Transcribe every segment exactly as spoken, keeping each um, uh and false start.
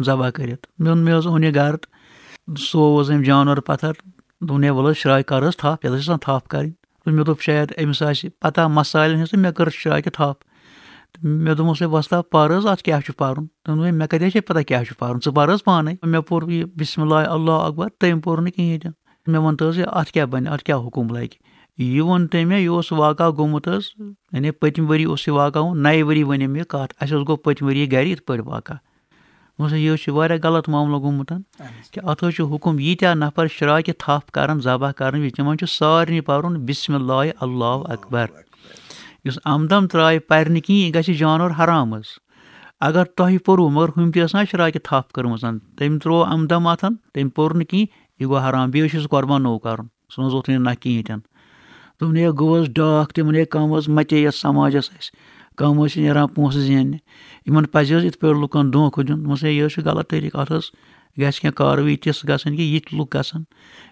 ذبح کٔرِتھ۔ مےٚ ووٚن، مےٚ حظ اوٚن یہِ گرٕ تہٕ سُہ اوس أمۍ جانور پتھر۔ دوٚپُن، "ہے، وَلہٕ حظ، شراے کر حظ تھپھ، یَتھ حظ چھِ آسان تھپھ کَرٕنۍ۔" تہٕ مےٚ دوٚپ، "شاید أمِس آسہِ پتہ مسالن ہٕنٛز، تہٕ مےٚ کٔر شراے تہِ تھپھ۔" تہٕ مےٚ دوٚپمَس، "ہے وۄستا، پر حظ، اَتھ کیٛاہ چھُ پَرُن؟" تٔمۍ دوٚپ، "ہے، مےٚ کَتہِ حظ چھے پتہ کیٛاہ چھُ پَرُن؟ ژٕ پر حظ پانَے۔" مےٚ پوٚر یہِ بسم اللہ، اللہ اکبر، تٔمۍ پوٚر نہٕ کِہیٖنۍ تہِ نہٕ۔ مےٚ ووٚن تہٕ حظ، یہِ اَتھ کیٛاہ بَنہِ، اَتھ کیٛاہ حُکُم لَگہِ؟ یہِ ووٚن تٔمۍ مےٚ، یہِ اوس واقعہ گوٚمُت حظ، یعنی پٔتمہِ ؤری اوس یہِ واقعہ گوٚمُت، نَیہِ ؤری ؤنِم یہِ کَتھ، اَسہِ اوس گوٚو پٔتمہِ ؤری یہِ گَرِ یِتھ پٲٹھۍ واقعہ۔ دوٚپمَس، یہِ حظ چھُ واریاہ غلط معاملہٕ گوٚمُت، اہن حظ۔ کہِ اَتھ حظ چھُ حُکُم، ییٖتیٛاہ نفر شراکہِ تھپھ کَرَن، ذبح کَرَن وِزِ، تِمَن چھُ سارنٕے پَرُن بسم اللہ، اللہ اکبر۔ یُس عمدن ترٛایہِ پَرِ نہٕ کِہیٖنۍ، یہِ گژھِ جانور حرام حظ۔ اگر تۄہہِ پوٚروٕ، مگر ہُمۍ تہِ ٲس نا شراکہِ تھپھ کٔرمٕژ، تٔمۍ ترٛوو عمدن اَتھن، تٔمۍ پوٚر نہٕ کِہیٖنۍ، یہِ گوٚو حرام، بیٚیہِ چھُ سُہ قۄربان نوٚو کَرُن، سُہ نہٕ حظ ووٚتھُے نہٕ نہ کِہیٖنۍ تہِ نہٕ۔ دوٚپُن، ہے گوٚو حظ ڈاکھ تہِ، وۄنۍ ہے کَم حظ مَتے یَتھ سماجَس اَسہِ، کَم حظ چھِ نیران پونٛسہٕ زیننہِ، یِمَن پَزِ حظ یِتھ پٲٹھۍ لُکَن دھوکہٕ دیُن؟ دوٚپمَس، ہے یہِ حظ چھُ غلط طریٖقہٕ، اَتھ حظ گژھِ کینٛہہ کاروٲیی تِژھ گژھٕنۍ کہِ یِتھۍ لُکھ گژھن،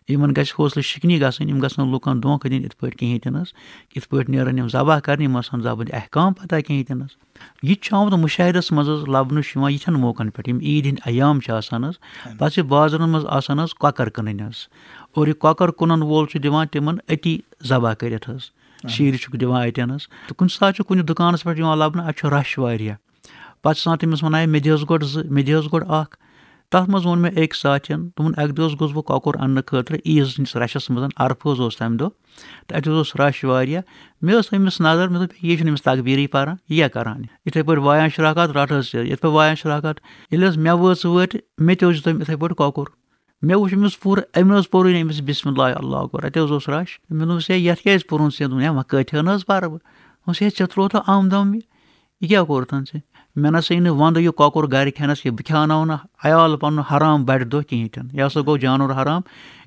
یِمَن گژھِ حوصلہٕ شِکنی گژھٕنۍ، یِم گژھن نہٕ لُکَن دھوکہٕ دِنۍ یِتھ پٲٹھۍ کِہیٖنۍ تہِ نہٕ حظ، یِتھ پٲٹھۍ نیرَن یِم ذبح کَرنہِ، یِم آسَن ذبحٕکۍ احکام پَتہ کِہیٖنۍ تہِ نہٕ حظ۔ یہِ تہِ چھُ آمُت مُشاہدَس منٛز حظ لَبنہٕ، چھُ یِوان یِتھٮ۪ن موقعن پٮ۪ٹھ، یِم عیٖد ہِنٛدۍ ایام چھِ آسان حظ، اہن۔ پَتہٕ چھِ بازرَن منٛز آسان حظ کۄکَر کٕنٕنۍ حظ، اور یہِ کۄکَر کٕنَن وول چھُ دِوان تِمَن أتی ذبح کٔرِتھ حظ، اہن۔ شیٖرِتھ چھُکھ دِوان اَتٮ۪ن حظ۔ تہٕ کُنہِ ساتہٕ چھُ کُنہِ دُکانَس پٮ۪ٹھ یِوان لَبنہٕ، اَتہِ چھُ rush واریاہ، پَتہٕ چھُ آسان تٔمِس وَنان، ہے مےٚ دِ حظ گۄڈٕ زٕ، مےٚ دِ حظ گۄڈٕ اَکھ۔ تَتھ منٛز ووٚن مےٚ أکۍ ساتھیَن، دوٚپُن، اَکہِ دۄہ حظ گوٚژھ بہٕ کۄکُر اَننہٕ خٲطرٕ عیٖذ ہِنٛدِس rushَس منٛز، عرفہٕ حظ اوس تَمہِ دۄہ، تہٕ اَتہِ حظ اوس rush واریاہ۔ مےٚ ٲس أمِس نظر، مےٚ دوٚپ، یہِ چھُنہٕ أمِس تکبیٖرٕے پَران، یہِ کیٛاہ کَران؟ یِتھَے پٲٹھۍ وایان شراکات، رَٹہٕ حظ ژٕ، یِتھ پٲٹھۍ وایان شراکات، ییٚلہِ حظ مےٚ وٲژ وٲٹۍ، مےٚ تہِ حظ دیُت أمۍ یِتھَے پٲٹھۍ کۄکُر۔ مےٚ وُچھ أمِس پوٗرٕ، أمۍ نہٕ حظ پوٚرُے نہٕ أمِس بسم اللہ اللہ اکبر، اَتہِ حظ اوس rush۔ مےٚ دوٚپمَس، ہے یَتھ کیٛازِ پوٚرُن ژےٚ؟ دوٚپُن، ہے وۄنۍ کۭتۍ ہَن حظ پَرٕ بہٕ؟ دوٚپمَس، ہے ژےٚ ترٛووتھ عمدم یہِ، یہِ کیٛاہ کوٚرُتھ ژےٚ؟ مےٚ نہ سا یہِ نہٕ وَندٕ یہِ کۄکُر گَرِ کھٮ۪نَس کینٛہہ، بہٕ کھیٛاوناوَن نہٕ عیال پَنُن حرام بَڑِ دۄہ کِہیٖنۍ تہِ نہٕ، یہِ ہسا گوٚو جانوَر حرام۔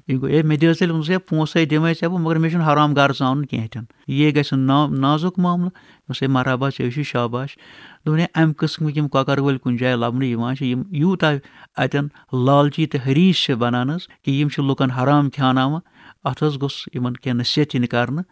یہِ گوٚو، ہے مےٚ دِ حظ تیٚلہِ، دوٚپمَس، ہے پونٛسَے دِمَے ژےٚ بہٕ، مگر مےٚ چھُنہٕ حرام گَرٕ ژاونُن کِہیٖنۍ تہِ نہٕ، یہِ گژھِ نا-، نازُک معاملہٕ۔ دوٚپمَس، ہے مرحبا، ژےٚ چھُے شاباش۔ دوٚپُن، ہے اَمہِ قٕسمٕکۍ یِم کۄکَر وٲلۍ کُنہِ جایہِ لَبنہٕ یِوان چھِ، یِم یوٗتاہ اَتٮ۪ن لالچی تہٕ حریٖص چھِ بَنان حظ، کہِ یِم چھِ لُکَن حرام کھیٛاناوان۔ اَتھ حظ گوٚژھ یِمَن کینٛہہ نصیحت یِنہٕ کَرنہٕ۔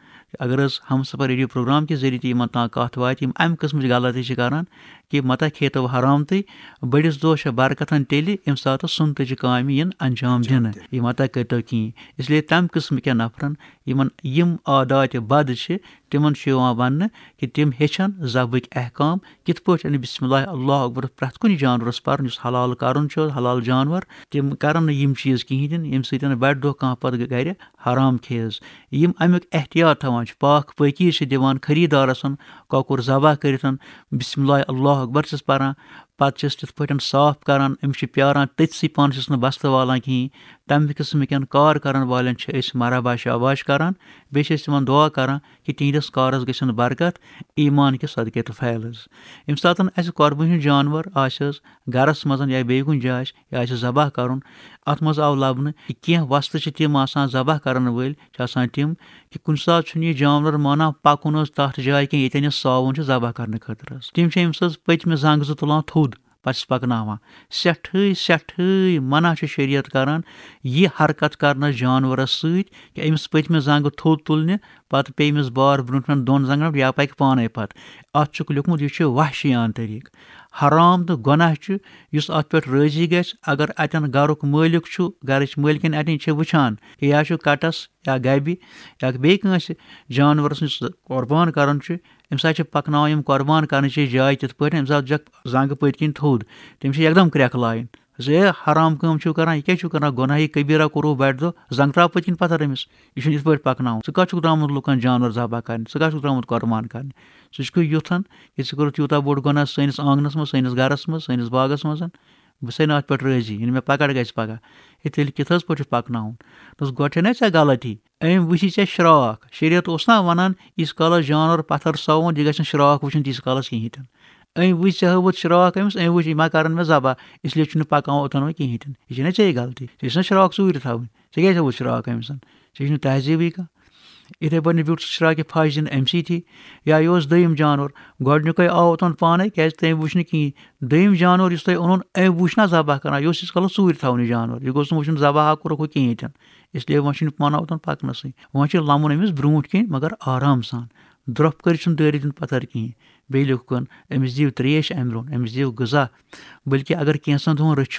اگر حظ ہمسفر ریڈیو پروگرام کہِ ذٔریعہٕ تہِ یِمَن تام کَتھ واتہِ، یِم اَمہِ قٕسمٕچ غلطی چھِ کَران کہِ مَتہ کھیٚیتو حرام تہٕ بٔڑِس دۄہَس چھےٚ برکتَن تیٚلہِ، ییٚمہِ ساتہٕ سُنتٕچہِ کامہِ یِن انجام دِنہٕ۔ یہِ مَتہ کٔرۍتو کِہیٖنۍ۔ اس لیے تَمہِ قٕسمہٕ کٮ۪ن نفرَن، یِمَن یِم عاداتِ بد چھِ، تِمَن چھُ یِوان وَننہٕ کہِ تِم ہیٚچھَن ذبحٕکۍ احکام، کِتھ پٲٹھۍ اَنہِ بسم اللہ اللہ اکبر پرٛٮ۪تھ کُنہِ جانوَرَس پَرُن، یُس حلال کَرُن چھُ، حلال جانوَر۔ تِم کَرَن نہٕ یِم چیٖز کِہیٖنۍ تہِ نہٕ، ییٚمہِ سۭتۍ بَڑِ دۄہ کانٛہہ پَتہٕ گَرِ حرام کھیٚیہِ حظ۔ یِم اَمیُک احتیاط تھاوان چھِ، پاک پٲکی چھِ دِوان خریٖدارَس، کۄکُر ذبح کٔرِتھ، بسم اللہ اللہ اکبر چھِس پَران، پَتہٕ چھِس تِتھ پٲٹھۍ صاف کَران، أمِس چھِ پیاران تٔتسٕے، پانَس چھِس نہٕ بستہٕ والان کِہیٖنۍ۔ تَمہِ قٕسمٕکٮ۪ن کار کَرَن والٮ۪ن چھِ أسۍ مرحبا شاباش کَران، بیٚیہِ چھِ أسۍ تِمَن دُعا کَران کہِ تِہِنٛدِس کارَس گٔژھِن برکت، ایٖمان کہِ صدقے تہٕ فیل حظ۔ ییٚمہِ ساتَن اَسہِ قۄربٲنی ہُنٛد جانوَر آسہِ حظ گَرَس منٛز یا بیٚیہِ کُنہِ جایہِ آسہِ، یا آسہِ ذبح کَرُن، اَتھ منٛز آو لَبنہٕ کہِ کینٛہہ وۄستہٕ چھِ تِم آسان ذبح کَرَن وٲلۍ، چھِ آسان تِم کہِ کُنہِ ساتہٕ چھُنہٕ یہِ جانوَر مانان پَکُن حظ تَتھ جایہِ کینٛہہ، ییٚتٮ۪ن یہِ ساوُن چھُ ذبح کَرنہٕ خٲطرٕ حظ۔ تِم چھِ أمِس حظ پٔتمہِ زنٛگہٕ زٕ تُلان تھوٚد، پَتہٕ چھِس پَکناوان۔ سٮ۪ٹھٕے، سٮ۪ٹھٕے منع چھِ شریعت کَران یہِ حرکت کَرنَس جانوَرَس سۭتۍ، کہِ أمِس پٔتمہِ زنٛگہٕ تھوٚد تُلنہِ، پَتہٕ پیٚیہِ أمِس بار برٛونٛٹھمٮ۪ن دۄن زنٛگَن پٮ۪ٹھ یا پَکہِ پانَے پَتہٕ۔ اَتھ چھُکھ لیوٚکھمُت، یہِ چھُ وحشیانہٕ طریٖقہٕ۔ حرام تہٕ گۄناہ چھُ، یُس اَتھ پٮ۪ٹھ رٲضی گژھِ، اگر اَتٮ۪ن گَرُک مٲلِک چھُ، گَرٕچ مٲلکِن اَتٮ۪ن چھِ وٕچھان کہِ یا چھُ کَٹَس یا گَبہِ یا بیٚیہِ کٲنٛسہِ جانوَرَس یُس قۄربان کَرُن چھُ، أمِس حظ چھِ پَکناوان یِم قۄربان کَرنٕچ جاے تِتھ پٲٹھۍ، أمِس حظ چھَکھ زنٛگہٕ پٔتۍ کِنۍ تھوٚد، تٔمِس چھِ یَکدَم کرٛٮ۪کھ لایِنۍ۔ زِ ہے، حرام کٲم چھِو کران، یہِ کیٛاہ چھِو کران؟ گۄناہہِ کبیٖرہ کوٚروٕ بَڑِ دۄہ، زنٛگہٕ ترٛاو پٔتۍ کِنۍ پَتھر أمِس۔ یہِ چھُنہٕ یِتھ پٲٹھۍ پَکناوُن۔ ژٕ کَتھ چھُکھ درٛامُت لُکَن جانوَر ذبح کَرنہِ؟ ژٕ کَتھ چھُکھ درٛامُت قۄربان کَرنہِ؟ ژٕ چھُکھ یُتھَن کہِ ژٕ کوٚرُتھ یوٗتاہ بوٚڑ گۄناہ سٲنِس آنٛگنَس منٛز، سٲنِس گَرَس منٛز، سٲنِس باغَس منٛز۔ بہٕ چھُسَے نہٕ اَتھ پٮ۪ٹھ رٲضی، یعنی مےٚ پَکَڑ گژھِ پَگاہ۔ ہے، تیٚلہِ کِتھ حظ پٲٹھۍ چھُ پَکناوُن؟ دوٚپُس، گۄڈٕ چھَنہ ژےٚ غلطی؟ أمۍ وٕچھی ژےٚ شراکھ۔ شریعت اوس نا وَنان، ییٖتِس کالَس جانوَر پَتھر ساوُن، یہِ گژھِ نہٕ شراکھ وٕچھُن تیٖتِس کالَس کِہیٖنۍ تہِ نہٕ۔ أمۍ وٕچھ ژےٚ ہٲوٕتھ شراکھ أمِس، أمۍ وٕچھ، یہِ ما کَرَن مےٚ ذبح، اس لیے چھُنہٕ پَکان اوٚتَن وۄنۍ کِہیٖنۍ تہِ نہٕ۔ یہِ چھَنہ ژےٚ غلطی، ژےٚ چھَنہ شراکھ ژوٗرِ تھاوٕنۍ، ژےٚ کیٛازِ ہٲوٕتھ شراکھ أمِس؟ ژےٚ چھُنہٕ تہذیٖبٕے کانٛہہ۔ یِتھَے پٲٹھۍ بیوٗٹھ ژٕ شراکہِ پھَش دِنہٕ أمۍ سٕے تھی۔ یا یہِ اوس دوٚیِم جانوَر، گۄڈٕنیُکُے آو اوٚتَن پانَے، کیٛازِ تٔمۍ وٕچھ نہٕ کِہیٖنۍ۔ دوٚیِم جانوَر یُس تۄہہِ اوٚنُن، أمۍ وٕچھ نہ ذبح کَران، یہِ اوس ییٖتِس کالَس ژوٗرِ تھاوُن یہِ جانوَر، یہِ گوٚژھ نہٕ وٕچھُن ذبح ہا کوٚرُکھ ہُہ کِہیٖنۍ تہِ نہٕ۔ اس لیے وۄنۍ چھُنہٕ پانہٕ اوٚتَن پَکنَسٕے۔ وۄنۍ چھُ لَمُن أمِس برٛونٛٹھ کِنۍ، مگر آرام سان۔ درٛۄپھ کٔرِتھ چھُنہٕ دٲرِتھ دیُن پَتھر کِہیٖنۍ۔ بیٚیہِ لیوٚکھُن، أمِس دِیِو ترٛیش اَمہِ برٛونٛٹھ، أمِس دِیِو غذا۔ بلکہِ اگر کینٛژھن دۄہَن رٔچھِو